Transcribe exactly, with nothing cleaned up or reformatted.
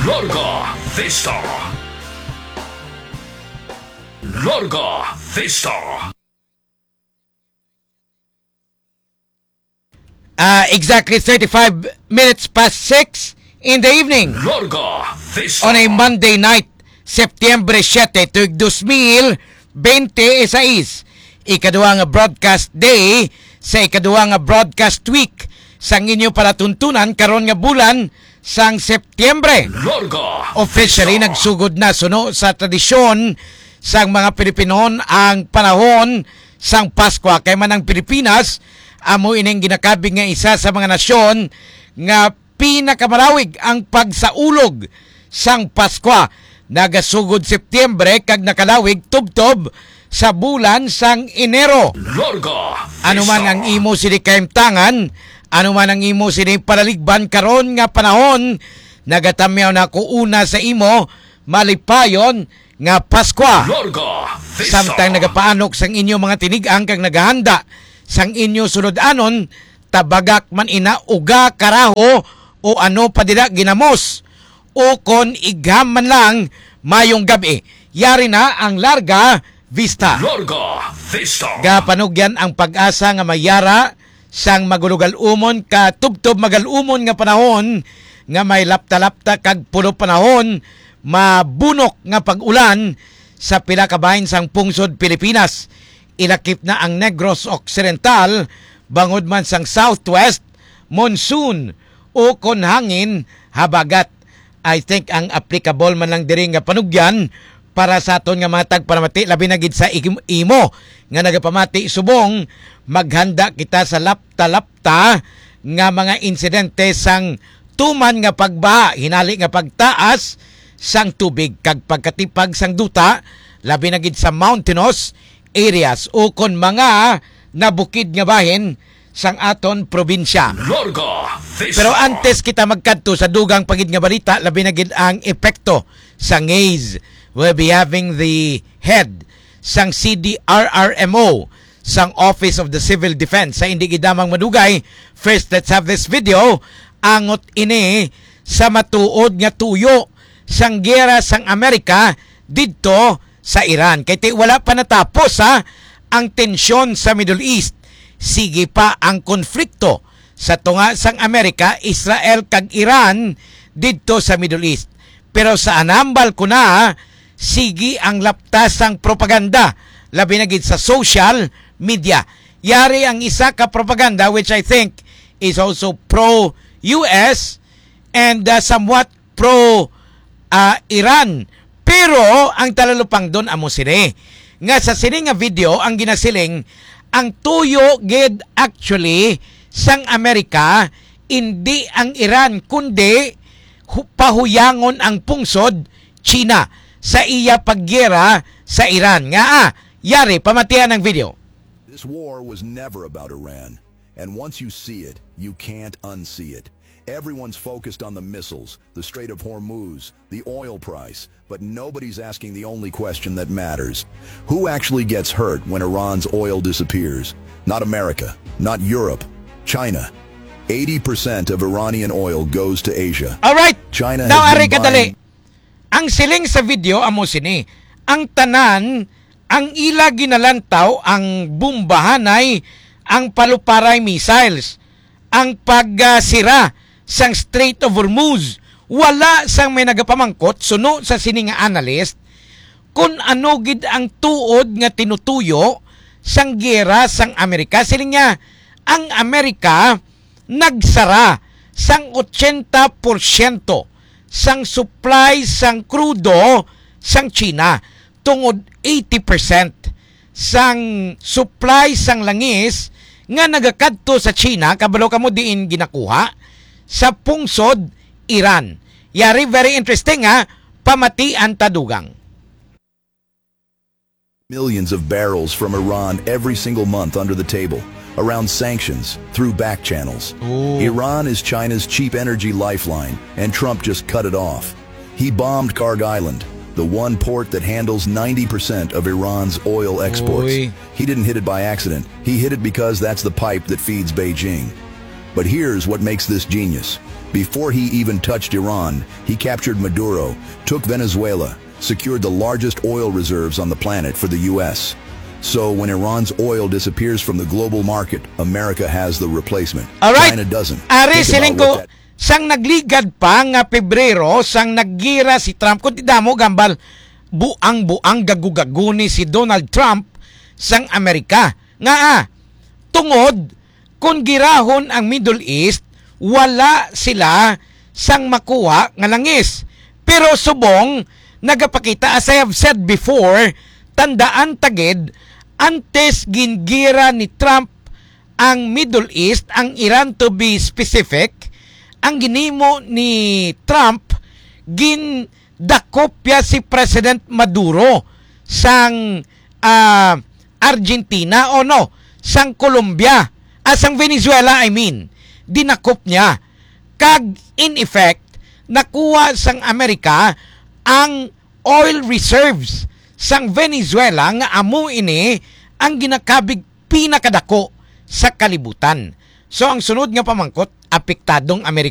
Larga Vista. Larga Vista. Ah, exactly thirty-five minutes past six in the evening. Larga Vista. On a Monday night, September siete, tuig dos mil bente y seis. Ikaduha nga broadcast day sa ikaduha nga broadcast week sang inyo palatuntunan karon nga bulan sang Septiembre. Larga Officially, Vista. Nagsugod na suno sa tradisyon sang mga Pilipino ang panahon sang Paskwa. Kay man ang Pilipinas, amo ining ginakabig nga isa sa mga nasyon nga pinakamalawig ang pagsaulog sang Paskwa. Nagasugod Septiembre kag nakalawig tubtob sa bulan sang Enero. Larga Ano man Vista. Ang imo sini kahimtangan, ano man ang imo sini palaligban karon nga panahon, nagatamyaw na ko una sa imo malipayon nga Paskwa. Larga Vista. Samtang nagapaanok sang inyo mga tinigang kag nagahanda sang inyo sulod-anon, tabagak man ina, uga, karaho, o ano pa dira, ginamos, o kon igham man lang, mayong gab-i. Yari na ang Larga Vista. Larga Vista. Gapanugyan ang pag-asa nga mayara sang magulogal-umon ka tubtob magal-umon nga panahon nga may lapta-lapta kag pulo panahon mabunok nga pag-ulan sa pila ka bahin sang pungsod Pilipinas. Ilakip na ang Negros Occidental bangod man sang southwest monsoon o kon hangin habagat. I think ang applicable man lang diri nga panugyan para sa aton nga mga tagpanamati, labi na gid sa im-, imo nga nagapamati subong, maghanda kita sa lapta-lapta nga mga insidente sang tuman nga pagbaha, hinali nga pagtaas sang tubig kag pagkatipag sang duta, labi na gid sa mountainous areas o kon mga nabukid nga bahin sang aton probinsya. Larga Vista. Pero antes kita magkadto sa dugang pa gid nga balita, labi na gid ang epekto sa ngaze, we'll be having the head sang C D R R M O, sang Office of the Civil Defense. Sa indi gid lamang madugay, first, let's have this video. Angot ini sa matuod nga tuyo sang giyera sang Amerika didto sa Iran. Kay ti wala pa natapos, ha, ang tensyon sa Middle East. Sige pa ang konflikto sa tunga sang Amerika, Israel kag Iran didto sa Middle East. Pero sa anambal ko na, sige ang laptas sang propaganda, labi na gid sa social media. Yari ang isa ka propaganda which I think is also pro-U S and, uh, somewhat pro, ah, Iran. Pero ang talalupangdon amo sini, nga sa sini nga video ang ginasiling, ang tuyo gid actually sang Amerika, indi ang Iran, kundi hu-, pahuyangon ang pungsod China sa iya paggiyera sa Iran. Nga, ah, yari, pamatian ang video. This war was never about Iran. And once you see it, you can't unsee it. Everyone's focused on the missiles, the Strait of Hormuz, the oil price, but nobody's asking the only question that matters. Who actually gets hurt when Iran's oil disappears? Not America, not Europe, China. Eighty percent of Iranian oil goes to Asia. All right. China Now, has been ari kadali. Buying Ang siling sa video amo sini, ang tanan, ang ila ginalantaw, ang bombahanay, ang paluparay missiles, ang pagsira sang Strait of Hormuz. Wala sang may nagapamangkot, suno sa sini nga analyst, kun ano gid ang tuod nga tinutuyo sang giyera sang Amerika. Siling niya, ang Amerika nagsara sang ochenta porsyento sang supply sang krudo sang China, tungod eighty percent sang supply sang langis nga nagakadto sa China, kabalo kamo diin ginakuha? Sa pungsod Iran. Yari, very interesting, ha, pamatian ta dugang. Millions of barrels from Iran every single month under the table, around sanctions, through back channels. Ooh. Iran is China's cheap energy lifeline, and Trump just cut it off. He bombed Kharg Island, the one port that handles ninety percent of Iran's oil exports. Uy. He didn't hit it by accident. He hit it because that's the pipe that feeds Beijing. But here's what makes this genius. Before he even touched Iran, he captured Maduro, took Venezuela, secured the largest oil reserves on the planet for the U S. So when Iran's oil disappears from the global market, America has the replacement. Alright. China doesn't. Ari Think siling about ko, what that sang nagligat pa nga Pebrero, sang naggira si Trump, kung di damo gambal, buang-buang gagu-gagu ni si Donald Trump sang Amerika. Nga ah, tungod, kung girahon ang Middle East, wala sila sang makuha nga langis. Pero subong, nagapakita, as I have said before, tandaan tagid, antes gingira ni Trump ang Middle East, ang Iran to be specific, ang ginimo ni Trump, gindakop ya si President Maduro sang ah, Argentina o no, sang Colombia, ah, sang Venezuela, I mean, dinakop niya. Kag in effect, nakuha sang Amerika ang oil reserves sang Venezuela nga amo ini ang ginakabig pinakadako sa kalibutan. So ang sunod nga pamangkot, apektadong Amerika